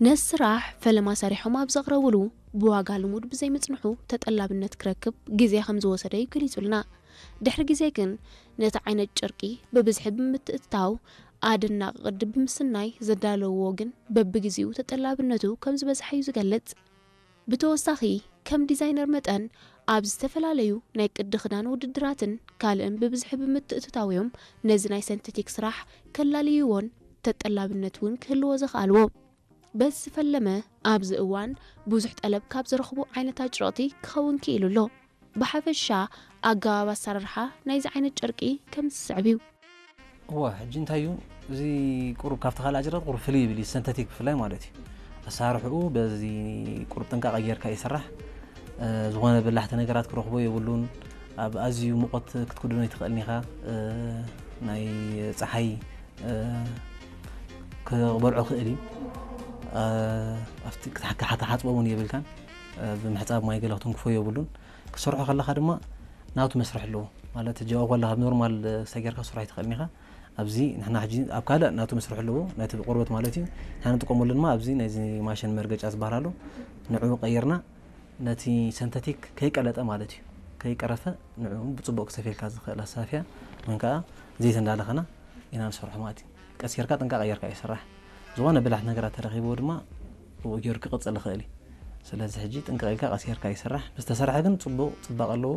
ነዚ ስራሕ ፈለማ ሰሪሖም ኣብ ዘቕረብሉ፣ ብዋጋ ልሙድ ብዘይምጽንሑ ተጠላብነት ክረክብ ግዜ ከም ዝወሰደ እዩ ገሊጹልና። ድሕሪ ግዜ ግን ነቲ ዓይነት ጨርቂ ብብዝሒ ብምትእትታው ኣደናቂ ቅዲ ብምስናይ ዘዳለውዎ ግን በብግዜኡ ተጠላብነቱ ከም ዝበዝሐ እዩ ዝገልጽ። ብተወሳኺ ከም ዲዛይነር መጠን ኣብ ዝተፈላለዩ ናይ ቅዲ ክዳን ውድድራትን ካልእን ብብዝሒ ብምትእትታው እዮም ነዚ ናይ ሰንተቲክ ስራሕ ከላልይዎን ተጠላብነት እውን ክህልዎ ዘኽኣልዎ። በዚ ዝፈለመ ኣብዚ እዋን ብዙሕ ጠለብ ካብ ዝረኽቡ ዓይነት ኣጭርቕቲ ክኸውን ክኢሉ ኣሎ። ብሓፈሻ ኣገባብ ኣሰራርሓ ናይዚ ዓይነት ጨርቂ ከም ዝስዕብ እዩ። እዋ ሕጂ እንታይ እዩ፣ እዚ ቁሩብ ካብቲ ካልእ ኣጭርቕቲ ቁሩብ ፍልይ ይብል እዩ፣ ሰንተቲክ ብፍላይ ማለት እዩ። ኣሰራርሕኡ በዚ ቁሩብ ጥንቃቐ ጌርካ ይስራሕ። ዝኾነ በላሕቲ ነገራት ክረኽቦ የብሉን። ኣብ ኣዝዩ ሙቐት ክትክድኖ ኣይትኽእልን ኢኻ። ናይ ፀሓይ ክበልዖ ክእል እዩ። ኣብቲ ክትሓሓፅቦ እውን የብልካን። ብምሕፃብ ማይ ገለ ክትንክፎ የብሉን። ክሰርሖ ከለኻ ድማ ናቱ መስርሕ ኣለዎ። ማለት ሕጂ ኣብኡ ከለኻ ብኖርማል ሰጊርካ ክትሰርሖ ኣይትኽእልን ኢኻ። ኣብዚ ንሕና ሕጂ ኣብ ካልእ ናቱ መስርሕ ኣለዎ፣ ነቲ ቆርበት ማለት እዩ። ንሕና ንጥቀመሉ ድማ ኣብዚ ናይዚ ማሽን መርገጫ ዝበሃል ኣሎ። ንዕኡ ቀይርና ነቲ ሰንተቲክ ከይቀለጠ ማለት እዩ፣ ከይቀረፈ ንዕኡ ብፅቡቕ ክሰፍየልካ ዝኽእል ኣሳፍያ ወይ ከዓ ዘይት እንዳለኸና ኢና ንሰርሖ ማለት እዩ። ቀስ ጌርካ ጥንቃቐ ጌርካ እዩ ዝስራሕ። ዝኾነ በላሕቲ ነገራት ተረኺብዎ ድማ ብኡ ጌሩ ክቕፅል ይኽእል እዩ። ስለዚ ሕጂ ጥንቅቕ ኢልካ ቀስ ጌርካ ይስራሕ። ምስ ተሰርሐ ግን ፅቡቕ ፅባቐ ኣለዎ።